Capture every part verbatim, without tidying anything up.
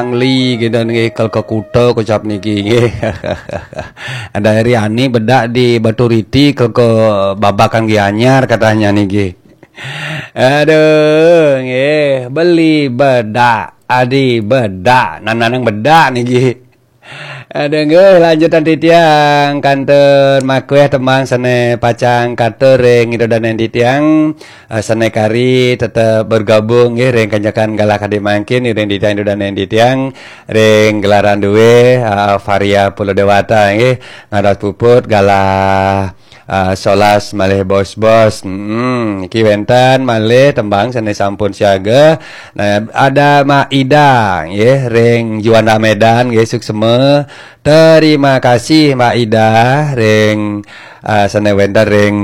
Angli gitu nggih, kal ke Kuta kocap niki nggih. Ada Eri Ani bedak di Baturiti, kal ke Babakan Gianyar katanya niki. Aduh, nggih, beli bedak, adi bedak, nananang bedak niki. Aduh, nggih, lanjutan titiang kantun makueh tembang sane pacang katur ring ida danen titiang, eh, sane kari tetep bergabung nggih ring kanyakan galah kadi mangkin ring titiang ida danen titiang ring gelaran due, eh, Varia Pulau Dewata nggih, ngados puput galah, eh, solas malih bos-bos. Hmm, niki wenten malih tembang sane sampun siaga. Nah, ada Mak Ida nggih ring Juanda Medan nggih, suksema. Terima kasih Mak Ida ring, eh, sane wenten ring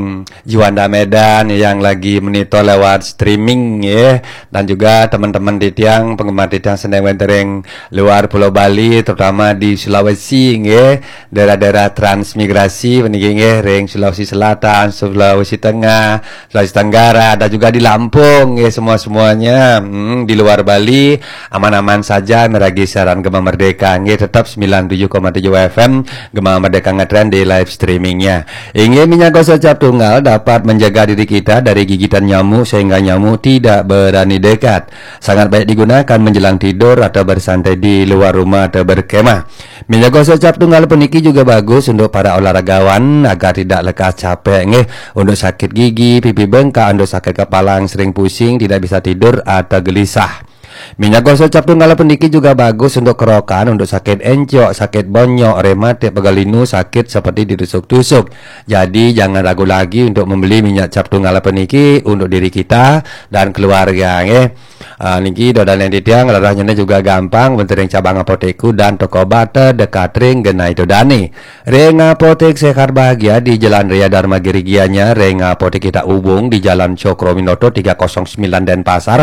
Juanda Medan yang lagi monitor lewat streaming nggih, dan juga teman-teman titiang, penggemar titiang sane wenten ring luar Pulau Bali, terutama di Sulawesi nggih, daerah-daerah transmigrasi puniki nggih, ring Sulawesi Selatan, Sulawesi Tengah, Sulawesi Tenggara, ada juga di Lampung nggih, semua-semuanya. Hmm, di luar Bali aman-aman saja miragi siaran Gema Merdeka nggih, tetap sembilan tujuh koma tujuh F M Gema Merdeka ngetren di live streamingnya. Inggih, minyak gosok cap tunggal dapat menjaga diri kita dari gigitan nyamuk sehingga nyamuk tidak berani dekat. Sangat baik digunakan menjelang tidur atau bersantai di luar rumah atau berkemah. Minyak gosok cap tunggal puniki juga bagus untuk para olahragawan agar tidak lekas capek nggih, untuk sakit gigi, pipi bengkak, untuk sakit kepala yang sering pusing, tidak bisa tidur atau gelisah. Minyak gosok cap tunggal puniki juga bagus untuk kerokan, untuk sakit encok, sakit bonyok, rematik, pegal linu, sakit seperti ditusuk-tusuk. Jadi jangan ragu lagi untuk membeli minyak cap tunggal puniki untuk diri kita dan keluarga nggih. Ah, niki ida danen titiang, rarahnyane juga gampang, wenten ring cabang apotek dan toko obat terdekat ring genah ida dane. Ring Apotek Sehat Bahagia di Jalan Raya Dharma Giri Gianyar, ring Apotek Kita Ubung di Jalan Cokroaminoto tiga kosong sembilan Denpasar.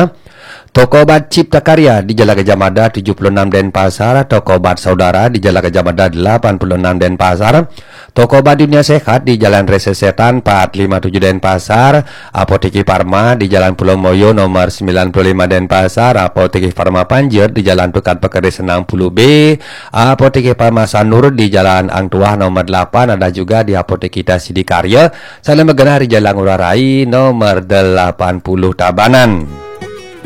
Toko obat Cipta Karya di Jalan Gajah Mada tujuh puluh enam Denpasar, toko obat Saudara di Jalan Gajah Mada delapan puluh enam Denpasar, toko obat Dunia Sehat di Jalan Rese Setan empat lima tujuh Denpasar, Apotek Farma di Jalan Pulau Moyo nomor sembilan puluh lima Denpasar, Apotek Farma Panjer di Jalan Tukad Pekeris enam puluh B, Apotek Farma Sanur di Jalan Ang Tuah nomor delapan, ada juga di Apotek Kita Sidikarya, sane magenah di Jalan Ngurah Rai nomor delapan puluh Tabanan.